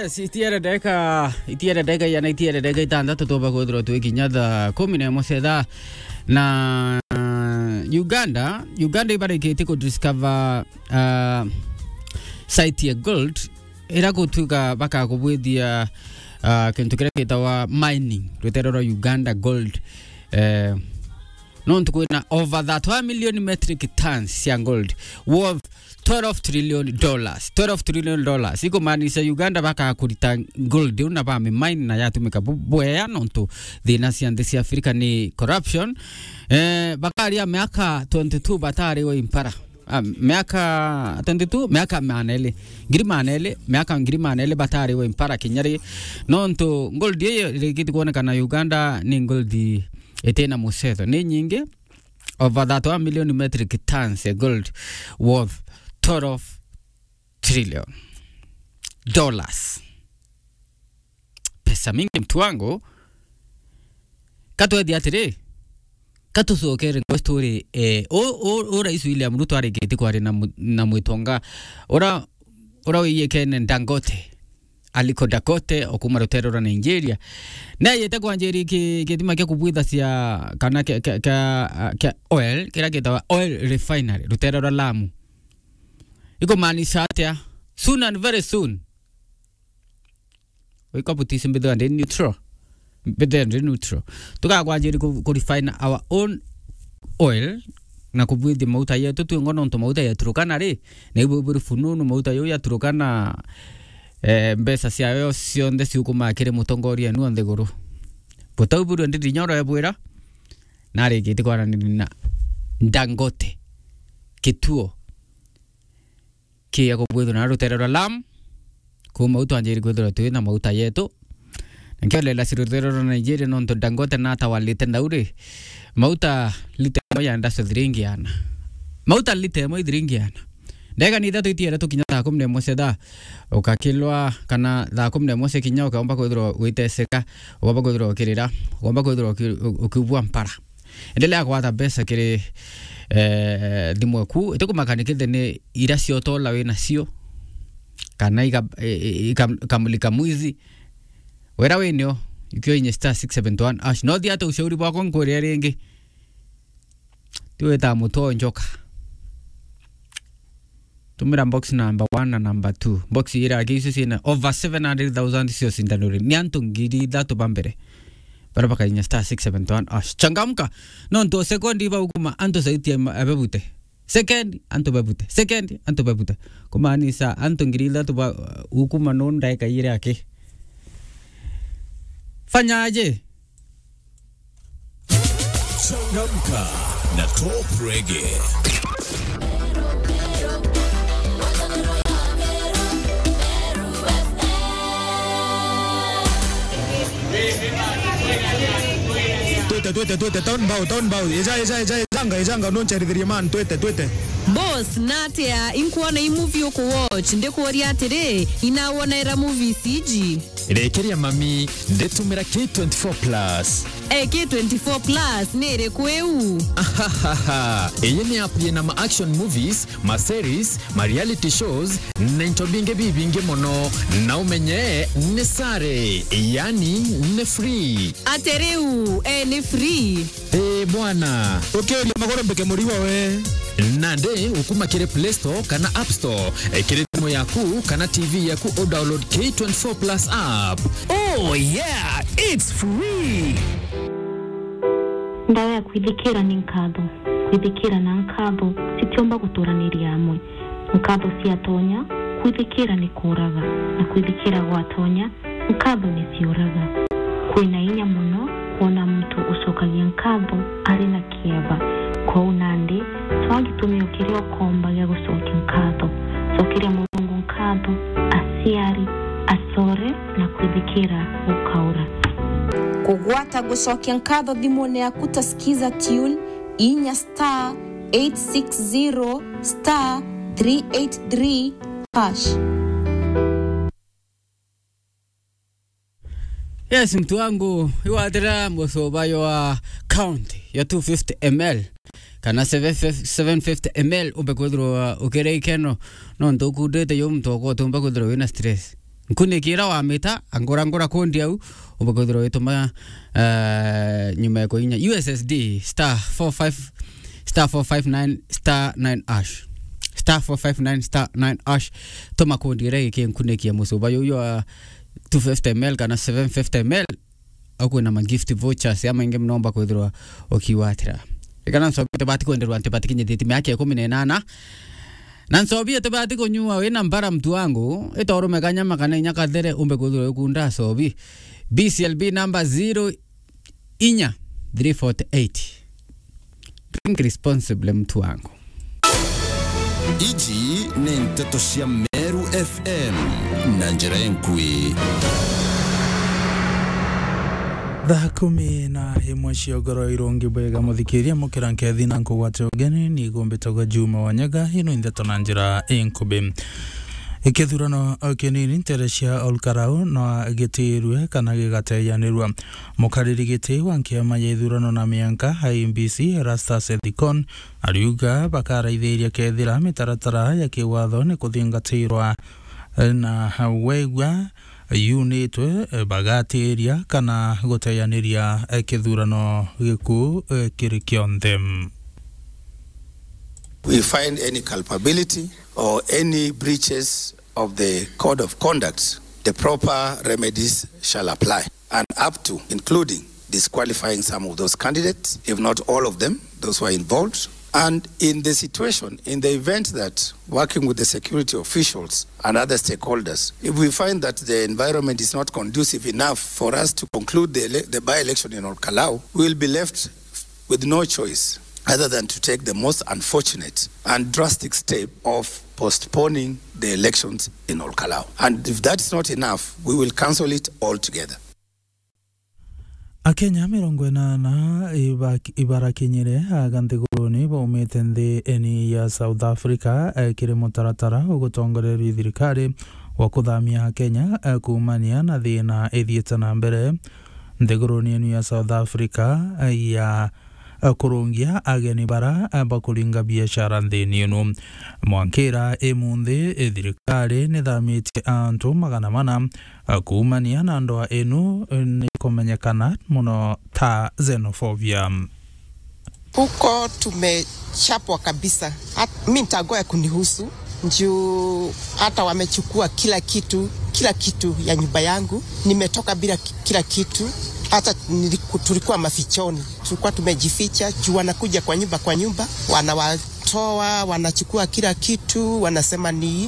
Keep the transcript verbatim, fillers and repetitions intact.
Yes, itiere ndeka, itiere ndeka iana, itiere ndeka itantatu tuba kwithirwa twi kinya thaa kumi na imwe cia ithaa. Na, uh, Uganda, Uganda ibarikitie ku discover, uh, site ya gold, ira gutuika bakakubwithia, uh, kintu kiria gitawa mining, rutere rwa Uganda Gold. Eh, nontu kwina over that one million metric tons cia gold worth twelve trillion dollars. Twelve trillion dollars. Ikumaanisha Uganda bakakurita gold iu na bamimine na yatumika bu-, bwea, nontu thina cia nthi cia Africa ni corruption. Eh, bakaria miaka twenty-two batari wa impara. Ah, miaka twenty-two, miaka maana eli. Ngiri maana eli, miaka ngiri maana eli batari wa impara kinya ri. Nontu gold iyo irikiti kuonekana Uganda ni gold itina mucetho. Ni nyingi, over that one million metric tons ya gold worth twelve trillion dollars. Pesa mingi, mtu wangu. Katwethi atiri, katucokere ngwe story, eh, u, u, u Rais William Ruto arikitie kwaria na mu-, na mwitonga ura, ura wiyikene Dangote, Aliko Dangote, okuma rutere rwa Nigeria. Neyete kwanjiria ki-, kitima kia kubwithacia kana kia, kia, kia, kia oil, kiria gitawa oil refinery, rutere rwa Lamu. Ikumaanisha atia? Soon and very soon. Wika butisi mbithwa ndi neutral. Mbithwa ndi neutral. Tukakwanjiri ku, ku refine our own oil na kubwithia mauta yetu twingo, nontu mauta ya Turkana ri, na ibu buri fununu mauta yau ya Turkana, eh, mbeca ciayo cionthe ciukumaa kiri mutongoria nu nthiguru. Butau buri ndi dinyoro ebwira, narikitie kwaraniria na Dangote kituo kia kubwithwa na rutere rwa Lamu, kuma u twanjiri kwithirwa twi na mauta yetu. Na nkiolela si rutere rwa Nigeria, nontu Dangote natawalite ndauri, mauta lita imwe yenda so thiringi ana. Mauta lita imwe ithiringi ana. Ndeka ni ithatu itiere tukinya thaa kumi na imwe cia thaa, ukakilwa kana thaa kumi na imwe cia kinya ukaomba kwithirwa witeseka, ukaomba kwithirwa ukirira, ukaomba kwithirwa uki-, u-, ukiubua mpara. Endelea kwata mbeca kiri, eh, thimu eku. Itikumaka ni kithe ni ira cia utola wi nacio, kana ika-, i-, i-, ikam-, ikamulika mwizi. Wira winio, ikio inye star six seven one hash. No thiate ushauri bwakwa nkwire ringi. Tiwita mutwe o njoka. Tumira box number one na number two. Box ira aki icio ciina over seven hundred thousand cio cindanuri. Ni antu ngiri ithatu ba mbere. Bara bakainya star six seven one hash. Changamka. Nontu o second iba ukuma antu sauti ya ma-, abebute. Second, antu bebute. Second, antu bebute. Kumaanisha antu ngiri ithatu ba, uh, ukuma no ndaika ire aki. Fanya aje? Changamka na Top Reggae. Twite, twite, twite, town bow, town bow. Eja, eja, eja, ejanga, ejanga, noncherithirie man, twite, twite. Boss, natia, inkuona i movie uku watch, ndikuuria atiri, inawona era movies iji? Rekeria mami, nditumira K twenty-four plus. Eh, K twenty-four plus ni iriku iu? Ahahaha. Iyi ni app yina ma action movies, ma series, ma reality shows, na into bingi bibingi mono. Na umenye ni sare, yani ni free. Ati riu, eh, ni free? Eh, bwana. Ukiuria maguru mbike murigo we. Nandi ukuma kiri Play Store kana App Store, eh, kiri thimu yaku kana T V yaku, u download K twenty-four plus app. Oh yeah, it's free. Ndawa ya kwithikira ni nkatho. Kwithikira na nkatho citiumba guturaniria amwe. Nkatho ciatonya, kwithikira ni kuuraga, na kwithikira gwatonya, nkatho ni ciuraga. Kwina inya mono kwona muntu ucokagia nkatho ari na kieba. Kwou nandi, cwaa gitumi o kiria ukomba gia gucokia nkatho. Cokeria Murungu nkatho, aciari, acore, na kwithikira gukaura. Kugwata gucokia nkatho thimune yaku ta Skiza Tune, inya star eight six zero star three eight three hash. Yes, mtu wangu, iwatira mucuba ywa count ya two fifty M L kana seven fifty M L umbe kwithirwa ukiri ikeno, nontu ukundite yo muntu wakwa utumba kwithirwa wina stress. Nkuniki ira wamita, angura ngura kondi au, umbe kwithirwa wituma, eh, nyuma ya kuinya U S S D star four five, star four five nine star nine hash. Star four five nine star nine hash. Tuma kondi ira iki nkuniki ya mucuba yuyu wa two fifty M L kana seven fifty M L. Au kwina ma gift vouchers ya maingi muno umba kwithirwa ukiwatira. Ikana nsobite bati kwenderwa anti bati kinyithiti miaka ikumi na inana. Na nsobie tibati kunyua wina mbara mtu wangu, ita urume kanyama kana inya kathere umbe kwithirwa ukunda sobi. B C L B number zero inya three forty eight. Drink responsibly mtu wangu. Iji ni nteto cia Meru F M na njira enkui. Thaa kumi na imwe cia ugoro irungi bwega muthikiria mukira nkethi na nkugwate ugeni ni gumbitagwa Juma Wanyaga, ino ndeto na njira inkubi. Ikithurano kinini ntere cia Olkarau no gitirue kana gigateyanirua. Mukariri giti wa nkiama ya ithurano na mianka I E B C Erastus Ethikon ariuga bakaraithiria kethira mitaratara ya kiwatho ni kuthingatirwa na wegua yunitwe bagatiria kana guteyaniria kithurano giku kiri kionthe. We find any culpability or any breaches of the code of conduct, the proper remedies shall apply, and up to, including disqualifying some of those candidates, if not all of them, those who are involved. And in the situation, in the event that working with the security officials and other stakeholders, if we find that the environment is not conducive enough for us to conclude the ele-, the by-election in Olkalau, we will be left with no choice other than to take the most unfortunate and drastic step of postponing the elections in Olkalau. And if that's not enough, we will cancel it altogether. Akenya mirongo inana iba-, ibarakinyire aga nthiguruni baumite nthi eni ya South Africa, eh, kiri mutaratara ugutongoreria thirikari wa kuthamia Akenya, eh, kuumania na thina ithiite na mbere. Nthiguruni enu ya South Africa, eh, ya, eh, kurungia ageni bara, eh, bakuringa biashara nthini inu. Mwankira imunthi, eh, thirikari nithamitie antu magana mana, eh, kuumania na ndwaa inu, eh, ni kumenyekana muno ta xenophobia. Huko tumechapwa kabisa. Hat-, mi nitagoa kunihusu, juu hata wamechukua kila kitu, kila kitu ya nyumba yangu. Nimetoka bila ki-, kila kitu. Hata niliku-, tulikuwa mafichoni. Tulikuwa tumejificha, juu wanakuja kwa nyumba kwa nyumba, wanawatoa, wanachukua kila kitu, wanasema ni